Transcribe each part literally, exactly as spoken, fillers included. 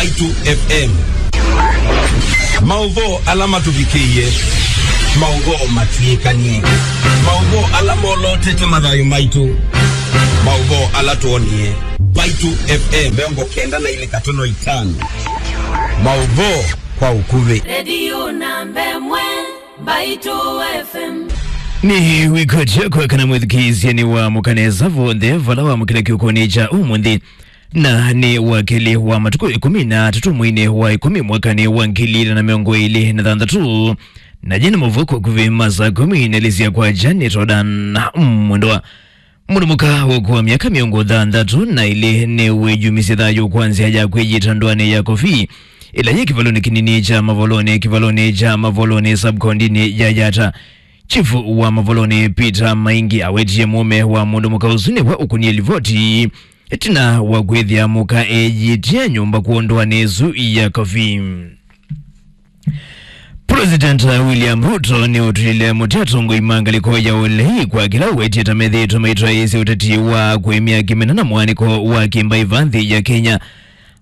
Mbaitu F M. Maũvoo ala matũvikĩie, maũvoo matw'ĩkanie, maũvoo ala molotete mathayũ maitũ, maũvoo ala twonie. Mbaitu F M mĩongo kenda na ilĩ katono itano. Maũvoo kwa ũkuvĩ. Redio namba ĩmwe, Mbaitu F M. Nĩ wĩkwatya kwa kana mwĩthukĩĩsya nĩ wa mũkanesa vonthe vala wa mũkĩla kĩũkonĩ kya ũmũnthĩ. Na nĩ wakili wa matukũ ĩkũmi na atatũ mweinĩ wa ĩkũmi mwakanĩ wa ngili ilĩ na mĩongo ĩlĩ na thanthatũ. Na jene mũvuko kuvĩ masa kũmi na lisya kwa Janet Odan Mwendwa. Mũndũ mũka ũkũa myaka mĩongo thanthatũ na ĩlĩ nĩ wĩyumisye thayũ kwa nzĩa ya kwĩyita ndũanĩ ya Kofi, ĩla yĩ kĩvalonĩ kĩnini kya Mavolonĩ, kĩvalonĩ kya Mavolonĩ subkondinĩ ya Yata. Chifu wa Mavolonĩ Peter Maingi awetie mũũme wa mũndũ mũka ũsu nĩwe ũkũnie livoti. Ĩtina wa kwĩthĩa mũka eyĩtye nyũmba kwondũanĩ ĩsu ya Kofi. President William Ruto nĩũtw'ĩle mũtĩ atongoi ma ngalĩko ya ũlei kwa kĩla ũwetie ta methĩĩtwe maitwaĩĩsya ũteti wa kũĩmya kĩmena na mwanĩko wa kĩmbaĩva nthĩ ya Kenya.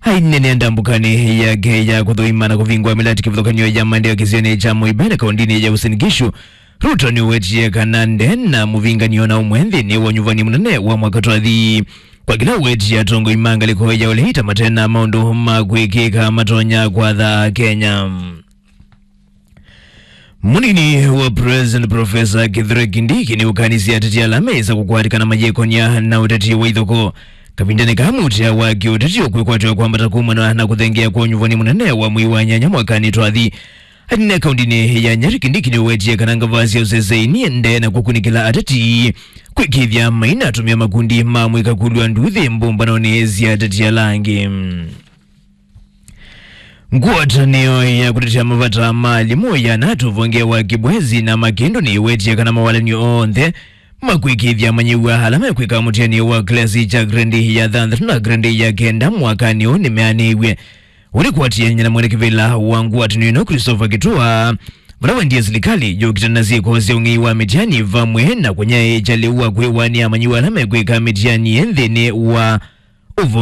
Ainenea ndambũkanĩ yake ya kũthũima na kũvingũa mĩlatĩ kĩvathũkany'o ya maendeeo kĩsionĩ kya Mũibene kaũndĩnĩ ya Uasin Gishu, Ruto nĩũwetie kana nde na mũvinganio na ũmwe nthĩnĩ wa ũnyuvani mũnene wa mwaka twathi. Kwa kĩla ũwetie atongoi ma ngalĩko ya ũlei ta mate na maũndũ ma kwĩkĩka matonya kwatha Kenya. Mũnini wa President Professor Kithure Kindiki nĩũkanisye ateti ala mesa kũkwatĩkana mayĩkonia na ũteti wa ithoko. Kavindanĩ kaa mũtĩa wa kĩũteti ũkwĩkwatĩwa kwambata kumana na kũthengeea kwa ũnyuvani mũnene wa mwei wa nyanya mwakanĩ twathi. Anene kaũndĩnĩ ya Nyeri, Kindiki nĩũwetie kana ngavaa sya ũseseini nde na kũkunĩkĩla ateti kwĩkĩĩthya mainatũmĩa makundi ma mwĩka kũlw'a nduthi mbũmbanonĩ sya ateti ala angĩ. Ngwatanĩo ya kũtetea mavata ma alimũ ya natu vonge wa Kibwezi na Makindu nĩĩwetie kana mawalany'o onthe ma kwĩkĩĩthya amanyĩw'a ala mekwĩka mũtianĩo wa klasi kya grade ya thanthatũ na grade ya kenda mwakanĩ ũũ nĩmeanĩiw'e. Ũlĩkwatĩanĩa na mwene kĩvĩla wa ngwatanĩo ĩno Christopher Kitua, vala wendie silikalĩ yũkitana na syĩko sya ũng'ei wa mĩtiani vamwe na kũnyaĩĩkya lĩu wa kwĩwanĩa amanyĩw'a ala mekwĩka mĩtiani nthĩnĩ wa ũvonge.